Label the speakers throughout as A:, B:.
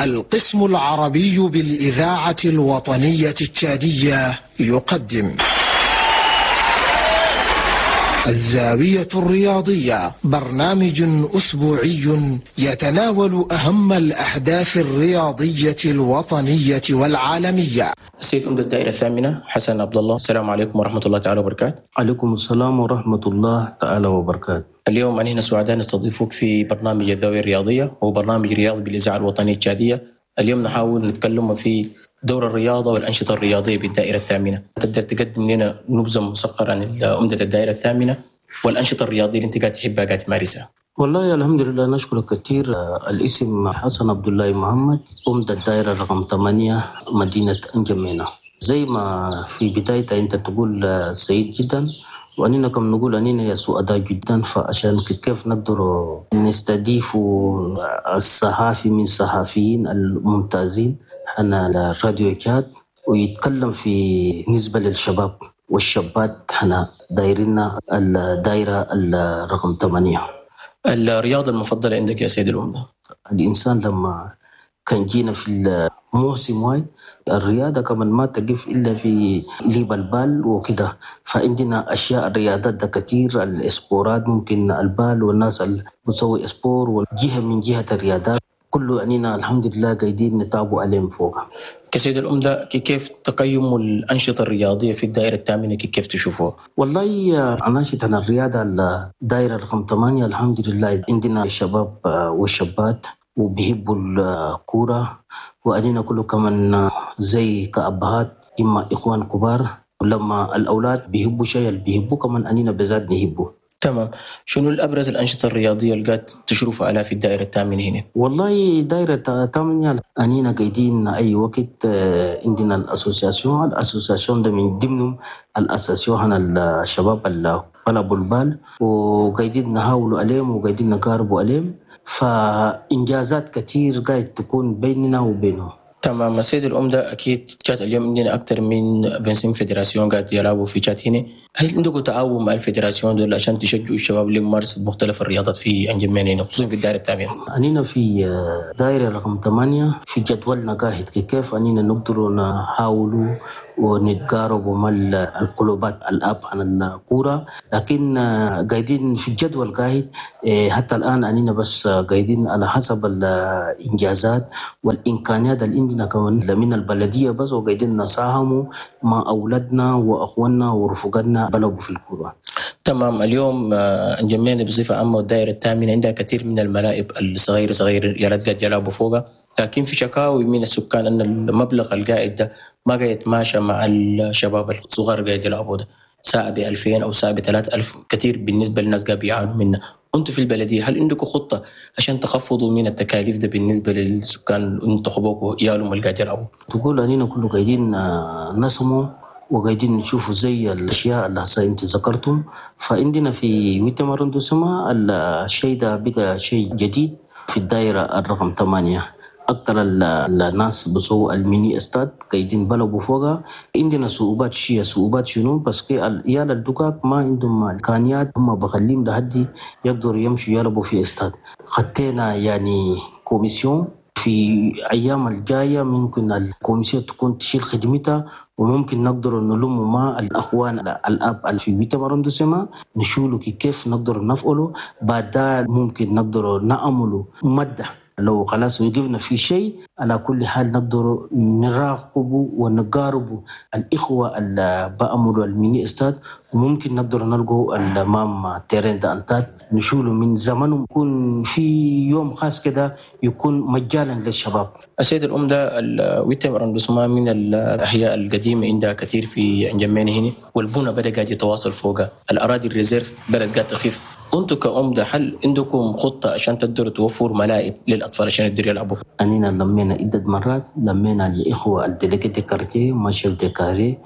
A: القسم العربي بالإذاعة الوطنية التشادية يقدم الزاوية الرياضية، برنامج أسبوعي يتناول أهم الأحداث الرياضية الوطنية والعالمية.
B: السيد عمدة الدائرة الثامنة حسن عبد الله، السلام عليكم ورحمة الله تعالى وبركاته.
C: عليكم السلام ورحمة الله تعالى وبركاته.
B: اليوم أنا هنا سعداء نستضيفك في برنامج الزاوية الرياضية، وهو برنامج رياضي بالإذاعة الوطنية التشادية. اليوم نحاول نتكلم في دور الرياضة والأنشطة الرياضية بالدائرة الثامنة. تقدر تقدم لنا نبذة مصغرة عن عمدة الدائرة الثامنة والأنشطة الرياضية اللي أنت قاعد تحبها قاعد تمارسها؟
C: والله الحمد لله، نشكرك كثير. الاسم حسن عبد الله محمد، عمدة الدائرة رقم 8 مدينة أنجمينا. زي ما في بداية أنت تقول سعيد جدا، وأننا كم نقول أننا يا سعداء جدا، فعشان كيف نقدر نستضيف الصحافي من الصحفيين الممتازين حنا الراديو تشاد، ويتكلم في نسبة للشباب والشابات حنا دايرنا الدائرة الرقم 8.
B: الرياضة المفضلة عندك يا سيد العمدة؟
C: الإنسان لما كان جينا في الموسم واي الرياضة كمان ما تقف إلا في ليب البال وكده، فعندنا أشياء الرياضات ده كتير، الإسبورات ممكن البال والناس اللي بتسوي إسبور وجهة من جهة الرياضات كله أننا الحمد لله قاعدين نتابع عليهم فوق.
B: كسيد العمدة، كيف تقيم الأنشطة الرياضية في الدائرة الثامنة، كيف تشوفوها؟
C: والله أنشطة الرياضة الدائرة رقم 8 الحمد لله عندنا الشباب والشابات وبيحبوا الكورة، وأننا كله كمان زي كأبهات إما إخوان كبار، ولما الأولاد بيحبوا شيء اللي بيحبوا كمان أننا بذات نحبه.
B: تمام. شنو الأبرز الأنشطة الرياضية اللي قاعد تشرف عليها في الدائرة الثامنة هنا؟
C: والله دائرة الثامنة أننا قاعدين أي وقت عندنا ال association، ال association ده من ضمنهم ال association هنا الشباب اللي بلعبوا ال balle، وقاعدين نحاولوا عليهم وقاعدين نقاربوا عليهم، فإنجازات كتير قاعد تكون بيننا وبينهم.
B: تمام. السيد العمدة، أكيد تشاد اليوم عندنا أكثر من 25 fédération قاعد يلعبوا في تشاد هنا، هل عندكم تعاون مع ال fédération دول عشان تشجعوا الشباب لممارسة مختلف الرياضات في أنجمينا هنا خصوصا في الدائرة الثامنة؟
C: أننا في دائرة رقم 8 في جدولنا قاعد كيف أننا نقدر نحاولوا ونتقاربوا مع الكلوبات الأب عن الكورة، لكن قاعدين في الجدول قاعد حتى الآن أننا بس قاعدين على حسب الإنجازات والإمكانيات اللي عندنا كمان من البلدية بس، وقاعدين نساهموا مع أولادنا وأخواننا ورفقاتنا بلعبوا في الكورة.
B: تمام. اليوم أنجمينا بصفة عامة والدائرة الثامنة عندها كثير من الملاعب الصغيرة صغيرة يا ريت قاعد يلعبوا فوقها، لكن في شكاوي من السكان أن المبلغ القاعد ده ما قاعد يتماشى مع الشباب الصغار قاعد يلعبوا ده، ساعة ب2000 أو ساعة ب3000 كثير بالنسبة للناس قاعد بيعانوا منه. أنتم في البلدية هل عندكم خطة عشان تخفضوا من التكاليف ده بالنسبة للسكان انتخبوكوا يالهم اللي قاعد يلعبوا؟
C: تقول أننا كله قاعدين نسمو وقاعدين نشوفوا زي الأشياء اللي هسه أنت ذكرتم، فعندنا في huitième arrondissement الشيء ده بقى شيء جديد في الدائرة الرقم 8. أكثر الناس بسووا ال mini stade قاعدين بلعبوا فوقها. عندنا صعوبات شيء، صعوبات شنو؟ بس كي العيال الدكاك ما عندهم إمكانيات، هم بخليهم لحد يقدروا يمشوا يلعبوا في استاد. خطينا يعني commission في أيام الجاية ممكن ال commission تكون تشيل خدمتها، وممكن نقدر نلم مع الأخوان الأب في huitième arrondissement نشولوا كيف نقدر نفعله. بعد ممكن نقدر نعمله مدة لو خلاص وقفنا في شيء، على كل حال نقدر نراقبه ونقاربه الإخوة اللي بأمروا ال mini stade، وممكن نقدر نلقوا الأمام terrain d'entente نشوله من زمن، يكون في يوم خاص كده يكون مجانا للشباب.
B: السيد العمدة، ال huitième arrondissement من الأحياء القديمة عندها كثير في أنجمينا هنا، والبنى بدأ قاعد يتواصل فوقها، الأراضي ال réserve بدأت قاعد تخف. أنتم كعمدة هل عندكم خطة عشان تقدروا توفروا ملاعب للأطفال عشان يقدروا يلعبوا؟
C: أننا لمينا عدة مرات، لمينا الإخوة ال délégués de quartier ما chefs de carré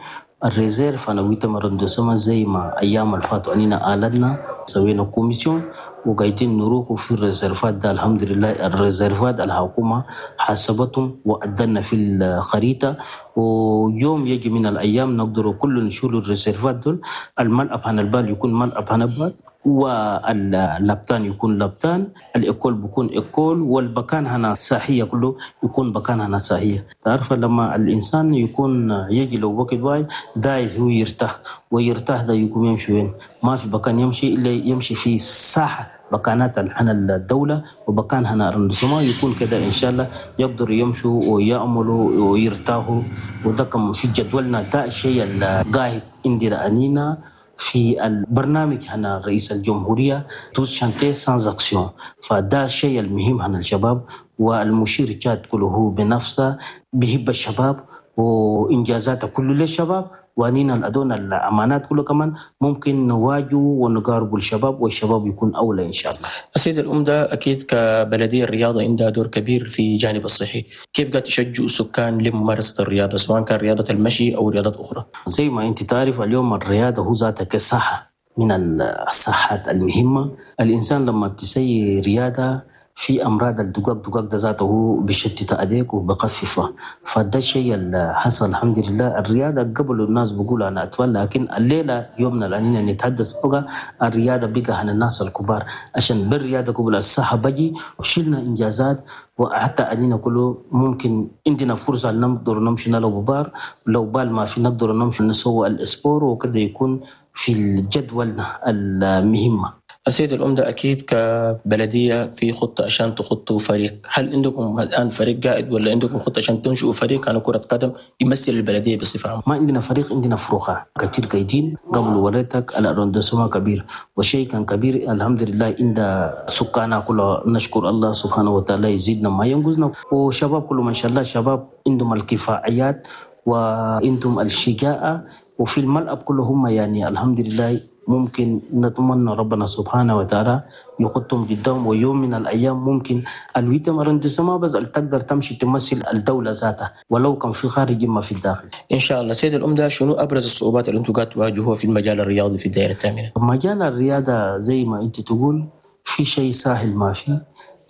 C: ال réserve أنا huitième arrondissement زي ما أيام الفاتوا أننا آلنا سوينا commission وقاعدين نروحوا في ال réserve ات ده. الحمد لله ال réserve ات الحكومة حاسبتهم وأدلنا في الخريطة، ويوم يجي من الأيام نقدر كل نشيل ال réserve ات دول. الملعب هنا ال balle يكون ملعب هنا ال balle واللبتان يكون لبتان، ال école بيكون école، والبكان هنا صحية كله يكون بكان هنا صحية. تعرف لما الإنسان يكون يجي لو وقت وايد دايز هو يرتاح، ويرتاح ده يكون يمشي وين؟ ما في بكان يمشي إلا يمشي في ساحة بكانات هنا الدولة وبكان هنا arrondissement يكون كده إن شاء الله يقدروا يمشوا ويأملوا ويرتاحوا. وده كم في جدولنا، ده الشيء القاعد عندنا أنينا في البرنامج هنا رئيس الجمهورية tous chantiers sans action. فده الشيء المهم هنا الشباب، والمشير جاد كله هو بنفسه بيحب الشباب وإنجازاته كله للشباب، وانينا الأدون الأمانات كله كمان ممكن نواجه ونقارب الشباب، والشباب يكون أولى إن شاء الله.
B: السيد الأمدة، أكيد كبلدية الرياضة عندها دور كبير في جانب الصحي، كيف قاعد تشجعوا السكان لممارسة الرياضة سواء كان رياضة المشي أو رياضات أخرى؟
C: زي ما أنت تعرف اليوم الرياضة هو ذاتها كصحة من الصحات المهمة. الإنسان لما تسوي رياضة في أمراض الدقاق دقاق ده ذاته بشتت أديك وبخففها، فده الشيء اللي حصل الحمد لله. الرياضة قبل الناس بيقولوا أنا أطفال، لكن الليلة يومنا لأننا نتحدث بقى الرياضة بقى عن الناس الكبار، عشان بالرياضة قبل الصحة بجي وشلنا إنجازات، وحتى أننا كله ممكن عندنا فرصة نقدر نمشي نلعب بار، لو بال ما في نقدر نمشي نسوي ال sport وكده يكون في الجدول المهمة.
B: السيد الأمدة، أكيد كبلدية في خطة عشان تخطوا فريق، هل عندكم الآن فريق قائد ولا عندكم خطة عشان تنشئوا فريق عن كرة قدم يمثل البلدية بصفة عامة؟
C: ما عندنا فريق، عندنا فروخة كتير قايدين. قبل وريتك ال arrondissement كبير وشيء كان كبير الحمد لله، عند سكاننا كله نشكر الله سبحانه وتعالى يزيدنا ما ينقصنا، وشباب كله ما شاء الله شباب عندهم الكفاءات وعندهم الشجاعة، وفي الملعب كلهم يعني الحمد لله ممكن نتمنى ربنا سبحانه وتعالى يقطهم قدام، ويوم من الأيام ممكن ال huitième arrondissement بس تقدر تمشي تمثل الدولة ذاتها ولو كان في خارج ما في الداخل
B: إن شاء الله. سيد الأمدة، شنو أبرز الصعوبات اللي أنتم قاعد تواجهوها في المجال الرياضي في الدائرة الثامنة؟
C: مجال الرياضة زي ما أنت تقول في شيء سهل ما في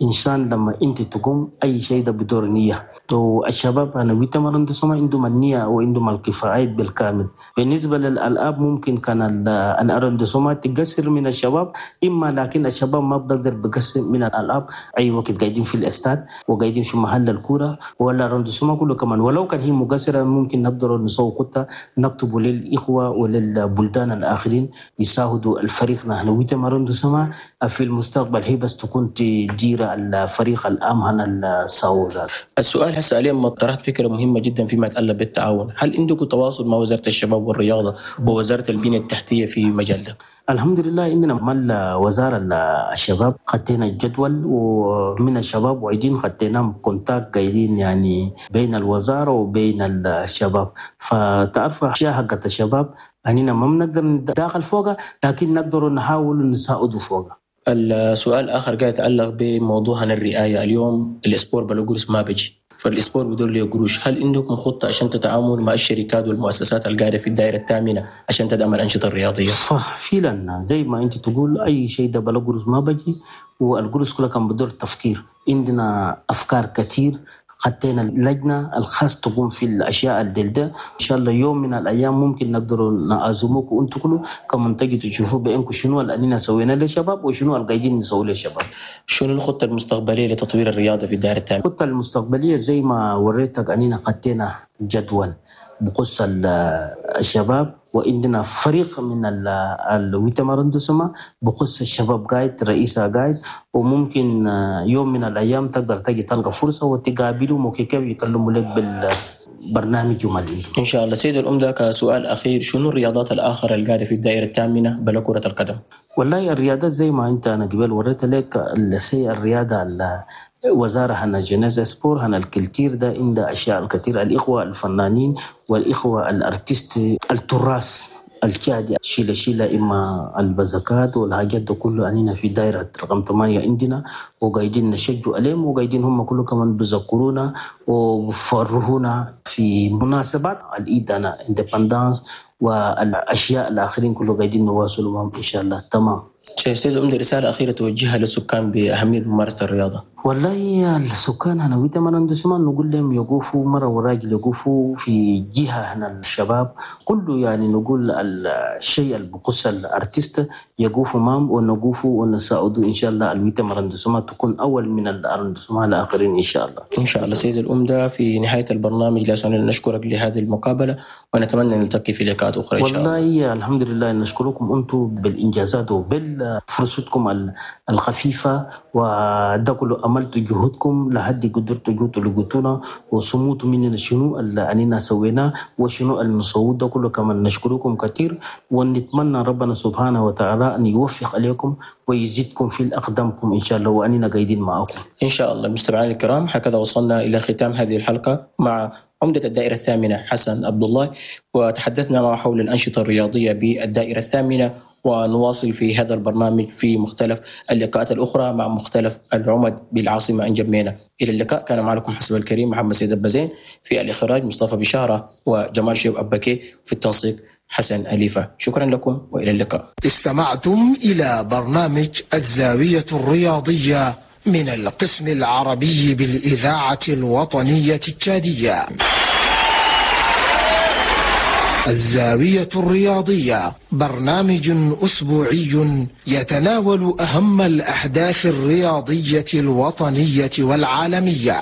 C: إنسان لما أنت تقوم أي شيء ده بدور نية. تو الشباب أنا huitième arrondissement عندهم النية وعندهم الكفاءات بالكامل. بالنسبة للألعاب ممكن كان ال arrondissement تقصر من الشباب إما، لكن الشباب ما بقدر بقصر من الألعاب أي وقت قاعدين في الاستاد وقاعدين في محل الكورة ولا arrondissement كله كمان، ولو كان هي مقصرة ممكن نقدر نسوي خطة نكتب للإخوة وللبلدان الآخرين يساعدوا الفريق. نحن huitième arrondissement في المستقبل هي بس تكون تدير الفريق العام هنا السعودي.
B: السؤال هسه اليوم طرحت فكرة مهمة جدا فيما يتعلق بالتعاون، هل عندكم تواصل مع وزارة الشباب والرياضة ووزارة البنية التحتية في مجال ده؟
C: الحمد لله عندنا مال وزارة الشباب خدينا الجدول، ومن الشباب وعيدين خدينا contact قايدين يعني بين الوزارة وبين الشباب. فتعرف أشياء حقت الشباب أننا ما بنقدر ندخل فوقها، لكن نقدر نحاول نساعده فوقها.
B: السؤال الآخر قاعد يتعلق بموضوعنا الرعاية. اليوم ال sport بلا قروش ما بيجي، فال sport بدور له قروش، هل عندكم خطة عشان تتعامل مع الشركات والمؤسسات القاعدة في الدائرة الثامنة عشان تدعم الأنشطة الرياضية؟
C: صح فعلا زي ما أنت تقول أي شيء ده بلا قروش ما بيجي، والقروش كلها كان بدور تفكير. عندنا أفكار كتير، خدينا اللجنة الخاص تقوم في الأشياء الدلدة. إن شاء الله يوم من الأيام ممكن نقدر نعزموك وأنتم كله كمان تجي تشوفوا بأنكم شنو اللي سوينا للشباب وشنو القاعدين نسوي للشباب.
B: شنو الخطة المستقبلية لتطوير الرياضة في الدائرة الثامنة؟
C: الخطة المستقبلية زي ما وريتك أننا خدينا جدول بخصوص الشباب، وعندنا فريق من ال huitième arrondissement بخصوص الشباب قايد رئيسها قايد، وممكن يوم من الأيام تقدر تجي تلقى فرصة وتقابلهم وكيف يكلموا لك بالبرنامج ومالي
B: إن شاء الله. سيد الأمدة، كسؤال أخير، شنو الرياضات الآخرى اللي قاعدة في الدائرة الثامنة بلا كرة القدم؟
C: والله الرياضات زي ما أنت أنا قبل وريت لك الرياضة وزارة هنا jeunesse sport هنا ال culture ده عند أشياء الكثير، الإخوة الفنانين والإخوة ال artistes التراث الكادي شيلة شيلة إما البزكات والحاجات ده كله أننا في دائرة رقم 8 عندنا، وقاعدين نشجعوا عليهم وقاعدين هم كله كمان بذكرونا وبفرهونا في مناسبات العيد أنا indépendance والأشياء الآخرين كله قاعدين نواصلوا معهم إن شاء الله. تمام.
B: سيد العمدة، رسالة أخيرة توجهها للسكان بأهمية ممارسة الرياضة.
C: والله السكان هنا huitième arrondissement نقول لهم يقوفوا مرة وراجل، يقوفوا في جهة هنا الشباب كله، يعني نقول الشيء اللي بخص ال artiste يقوفوا مام ونقوفوا ونساعدوا إن شاء الله ال huitième arrondissement تكون أول من ال arrondissements الآخرين إن شاء الله.
B: إن شاء الله. سيد العمدة، في نهاية البرنامج لا يسعني نشكرك لهذه المقابلة ونتمنى أن نلتقي في لقاءات أخرى إن شاء الله.
C: والله الحمد لله، نشكركم أنتم بالإنجازات وبالفرصتكم الخفيفة، وده كله عملتوا جهودكم لحد قدرتوا جوتوا لقيتونا وصموتوا مننا شنو اللي أننا سويناه وشنو المصود ده كله، كمان نشكركم كثير ونتمنى ربنا سبحانه وتعالى أن يوفق عليكم ويزيدكم في الأقدامكم إن شاء الله، وأننا قاعدين معكم
B: إن شاء الله. مستمعينا الكرام، هكذا وصلنا إلى ختام هذه الحلقة مع عمدة الدائرة الثامنة حسن عبد الله، وتحدثنا معه حول الأنشطة الرياضية بالدائرة الثامنة، ونواصل في هذا البرنامج في مختلف اللقاءات الأخرى مع مختلف العمد بالعاصمة أنجمينا. إلى اللقاء. كان معكم حسب الكريم محمد سيد البزين، في الإخراج مصطفى بشارة وجمال شيب أبكي، في التنسيق حسن أليفة. شكرا لكم وإلى اللقاء.
A: استمعتم إلى برنامج الزاوية الرياضية من القسم العربي بالإذاعة الوطنية التشادية. الزاوية الرياضية برنامج أسبوعي يتناول أهم الأحداث الرياضية الوطنية والعالمية.